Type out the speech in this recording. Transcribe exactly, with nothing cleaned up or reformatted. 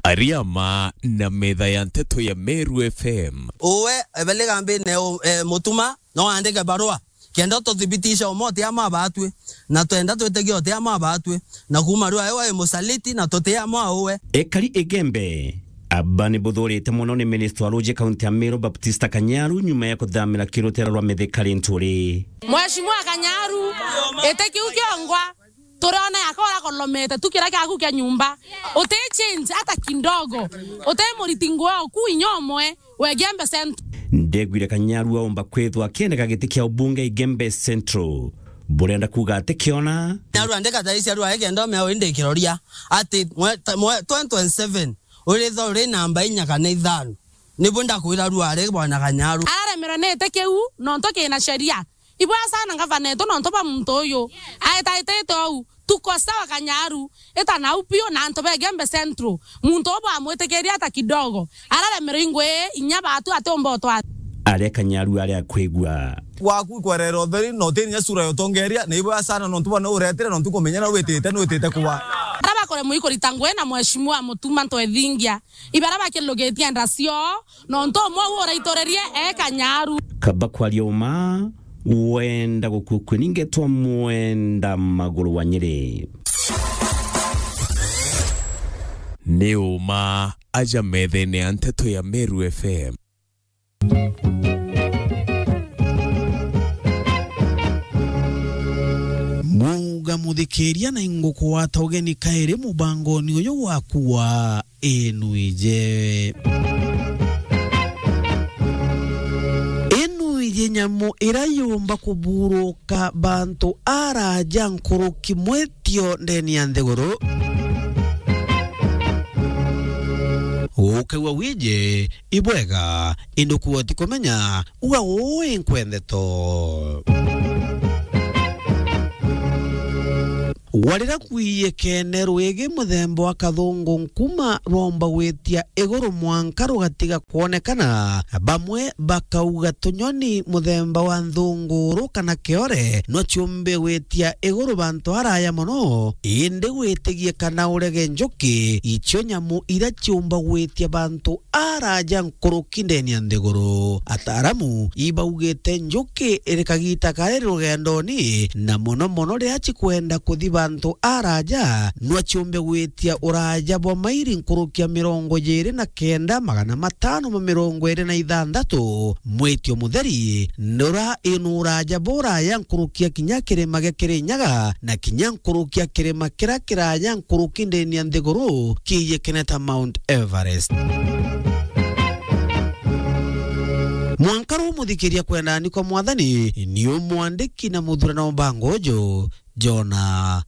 Ariama na metha ya nteto ya Meru F M. Uwe, ebele gambine u-, eh, Mutuma, no andike barua. Kenda tuthibitisha umo ti ama batwi. Na twenda twitikia uti ama batwi. Na kuma riu ayo wai musaliti na tuti ama uwe. Ekari Igembe, aba ni buthurite mono ni minister wa ruji kaunti ya Meru Baptista Kanyaru nyuma ya kuthamira kirutera rwa Mithika Linturi. Mheshimiwa Kanyaru, ite kiu kiongwa. Turiona yaka uria kolomete tu kiria kiaku kia nyumba. Uti change hata kidogo. Uti muriti nguo ku inya umwe. Wegembe Central. Ndegwire Kanyaru aumba kwithwa akiendeka giti kia ubunge Igembe Central. Burenda kuga ati kiona? Kanyaru andika taisi arua eke ndome au indi kiroria. Ati mwe, ta-, mwe, twenty twenty-seven. Uritho uri namba inya kana ithano. Nibu ndakwira rua ari bwana Kanyaru. Araremerwe ni iti kiu, nontu kina sheria. Ibwega sana ngavana etu nontu bwa muntu uyu. Aetaetete ou. Tuko sawa Kanyaru. Eta nau piu na antu ba Igembe Central. Muntu uu bwamwitikiria ata kidogo. Araremerwe ingwi inya batu atiumba utwara. Aria Kanyaru aria akwigua. Waku kwerera utheri na utini inya sura ya utongeria, na ibwega sana nontu bwa ni uretire nontu kumenya na witite, ni witite kuwa. Aria bakuremwa ikurita ngui na mheshimiwa Mutuma Ntwethingia. Ibara bakilugitie nda cio, nontu umwe uu uraitorerie e Kanyaru. Kaba kwaria uma, wenda gukua kwe ningetwa mwenda maguru wa Nyeri. Ni uma aja methene ya nteto ya Meru F M. Mwauga muthikiria na ingukwata ugeni kairi mubangoni uyu waku wa Inuije. Inuije nyamu ira yumba kuburuka bantu araja nkuruki mwitio ndeni ya nthiguru. Ukaigua wije, ibwega, indi ukuga utikumenya, uga uu inkwendeto. Warira kwiye kene rwigi muthemba wa kathungu nkuma rwomba gwitia iguru mwanka rugatiga kwonekana, bamwe bakauga tunyoni muthemba wa nthunguru kana kiore no ciumbe gwitia iguru bantu araya mono, indi gwitigie kana urege njuki, icio nyamu iria ciumba gwitia bantu araja nkuruki ndeni ya nthiguru. Ataaramu ibaugite njuki iri kagita kari rugendoni, na mono mono riria cikwenda kuthi bantu araja, no ciumbe gwitia uraja bwa mairi nkuruki ya mirongo jiri na kenda, magana matano ma mirongo iri na ithanthatu. Mwitio mutheri nura inu uraja buraya nkuruki ya kinya kirima gia Kirinyaga, na kinya nkuruki ya kirima kiria kiraya nkuruki ndeni ya nthiguru kiijikene ta Mount Everest. Mwanka ru muthikiria kwendani kwa Mwathani, ni umwandiki na muthurano mbango uju, Jona